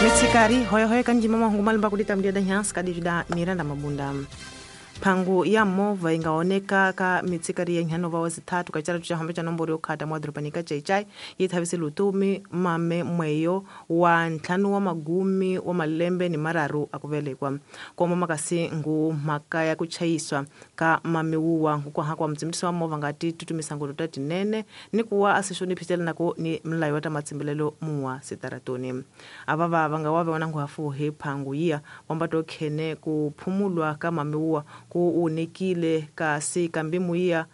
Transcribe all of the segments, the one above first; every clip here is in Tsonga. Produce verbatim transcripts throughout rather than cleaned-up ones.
Mitsikari hoyohoyo kanjima mahungu malimba kulita mdiada nyansi kadivida Miranda Mabunda. Pangu ya mova ingaoneka ka mitsikari ya nhanova wazitatu kachara tuchahambe cha nomboro yokhata mwadropanika chaichai yithavise lutumi mame mweyo wa ntlhanu wa magumi wa malembe ni mararu akuvelekwa koma makasi ngu mhaka ya kuchayiswa ka mamiwuwa nkukwaha kwa mtsimbiso wa mova ngati tutumisa ngulu ta tinene ni kuwa asixoniphitela nako ni mlayo wa ta matsimbelelo muwa sitaratoni avava vanga wave wana nguhafuhi phangu yiya wambato khene kuphumulwa ka mamiwuwa ku unikile kasi kambimu iya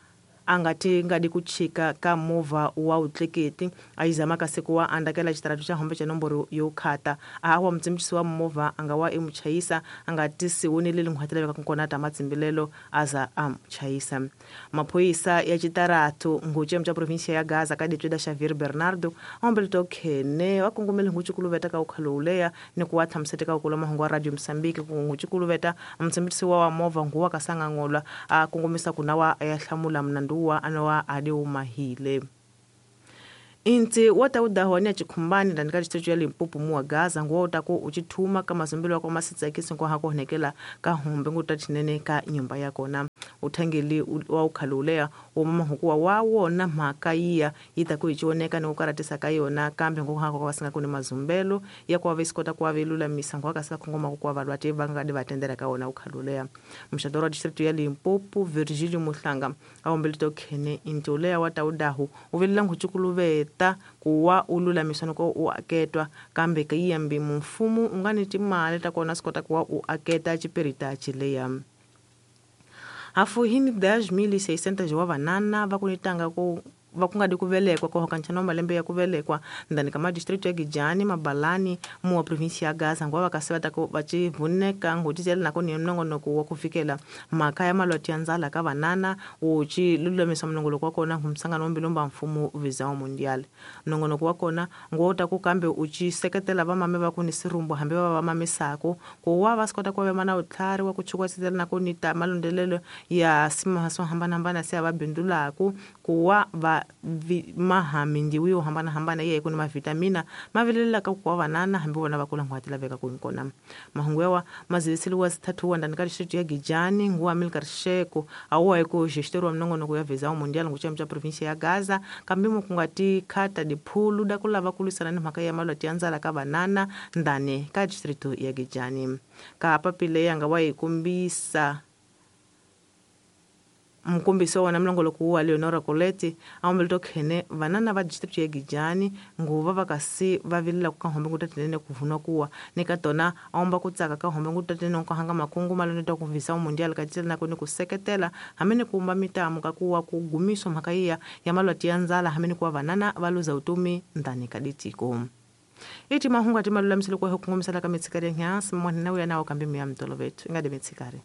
angati ngadi kuchika ka mova wa utleketi ayizama kasi kuwa andakela xitaratu xa hombe xa nomboro yo khata awa mutsimbiso wa movha anga wa emuchayisa angati siwonile linghwatela veka kona ta matsimbilelo aza amuchayisa. Maphoyisa ya xitaratu nguchem xa provinsia ya Gaza ka ditweda Xavier Bernardo ombelito khene wa kongomele nguchikuluveta ka ukhaloleya ni kuwa tshamisete ka ukula mahungu wa Radio Mozambique ku nguchikuluveta mutsimbiso wa movha nguwa kasanga ngolwa a kongomisa kunawa ya hlamula mnandu wa anowa ade umahile. Inti wata udahwania chikumbani ndani district ya Limpopo muwa Gaza nguwa utako uchithuma kama zumbilo kwa masitsa kisi kwa hako honekela ka hombe ngutathinene ka nyumba yakona uthangeli wa ukhalulea umama hukuwa wawona mhaka iya yitako ichioneka ni ukaratisa ka yona kambe nguhako kwa singa kune mazumbelo ya kwa vesikota kwa velula misango akasa kongoma kwa valwati vangadi vatendera ka wona ukhalulea. Mshadoro wa district ya Limpopo Virgilio Muhlanga awombelito khene intolea wataudahu uvelela nguchukuluveta kuwa ulula misano ko uaketwa kambe kayambi mfumo ungani timali takona sikota kuwa uaketa chipirita chileya. Afu hini dez mil e seiscentos wa vanana vakunitanga ku vakungadi kuvelekwa ko hokanchana malembe ya kuvelekwa ndani kama district ya Gijani Mabalani muwa provinsia ya Gaza ngwa vakasiva tako vachivuneka ngutizela nako ni mnongonoko wa kufikela mhaka ya malwati ya ndzala ka vanana uchi lulamisa mnongoloko wa kona ngumsangano mbilomba mfumo Visão Mundial. Mnongonoko wa kona ngota ku kambe uchi seketela vamame va ku ni sirumbu hambi va vamamisako ku wa va sikota ku va mana utlhari wa ku chukwasitela nako ni ta malondelelo ya sima swo hambanahambana se va bindulaku ku wa va mahamindi wiyo hambana hambana ye kuna mavitamina mavelela ka kwa vanana hambi vona va kula ngwati laveka ku nkona. Mahungu yawa maziviseliwa zithathu wa ndani ka district ya Gijani nguwa Milkar Sheko awa eko gestor wa mnongonoko ya Visão Mundial nguchem cha provinsia ya Gaza kambi mukungati khata diphulu da kulava kulisana ni mhaka ya malwati ya ndzala ka vanana ndani ka district ya Gijani. Ka papile yanga wa ikumbisa mkumbiso wana mlongoloko wa Leonora Coletti aombelito khene vanana va district ya Gijani nguva vakasi va vilela ku kahombe ngutatinene kuvunwa kuwa nika tona aomba kutsaka kahombe ngutatinene ku hanga makungu maloneta ku Visão Mundial katitela nako ni kuseketela hamene kumba mitamu kakuwa kugumiswa mhaka iya ya malwati ya ndzala hamene kuwa vanana va luza utumi ndani ka ditiko. Iti mahungu ati malulamiselo kwa hukungumisala ka mitsikari ya nyansi mwanina uya nao kambi miya mtolovetu ingade mitsikari.